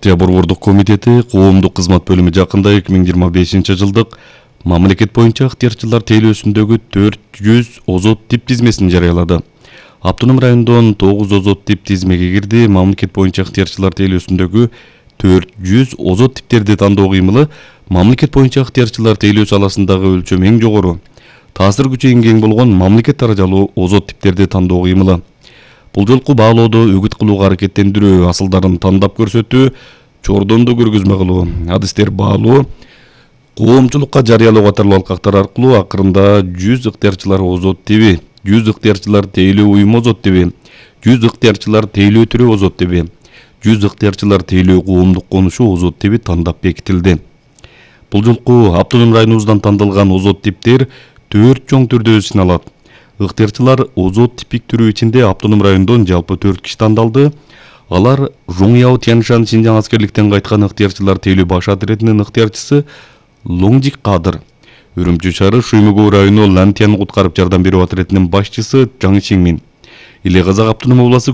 Партия борбордук комитети коомдук кызмат бөлүмү жакында 2025 жылдык мамлекет боюнча ыктыярчылар тейлөөсүндөгү 400 озот тип тизмесин жарыялады. Автоном райондон 9 озот тип тизмеге кирди. Мамлекет боюнча ыктыярчылар тейлөөсүндөгү 400 озот типтерди тандоо кыймылы мамлекет боюнча ыктыярчылар тейлөө саласындагы өлчөм эң жогору. Таасир күчү эң кең болгон мамлекет даражалуу озот типтерди тандоо кыймылы. Бул жолку баалоодо үгүт кылууга аракеттендирүү, асылдарын тандап көрсөтүү, чордонду көргөзмө кылуу, адистер баалоо, коомчулукка жарыялоо катарлуу алкактар аркылуу акырында 100 ыктыярчылар озот тиби, 100 ыктыярчылар тейлөө уюму озот тиби, 100 ыктыярчылар тейлөө түрү озот тиби, 100 ыктыярчылар тейлөө коомдук конушу озот тиби тандап бекитилди. Бул жолку автоном районубуздан тандалган озот типтер 4 чоң түрдө сыналат. Ыктыярчылар озот типик түрү ичинде автоном райондон жалпы 4 киши тандалды. Алар Жоңяо Тяньшан Шинжаң аскерликтен кайткан ыктыярчылар тейлөө баш отрядынын ыктыярчысы Лоңжик Кадыр, Үрүмчү шаары Шуймөгөө району Лантян куткарып жардам берүү отрядынын башчысы Жаң Чиңмин, Иле Казак автоном областы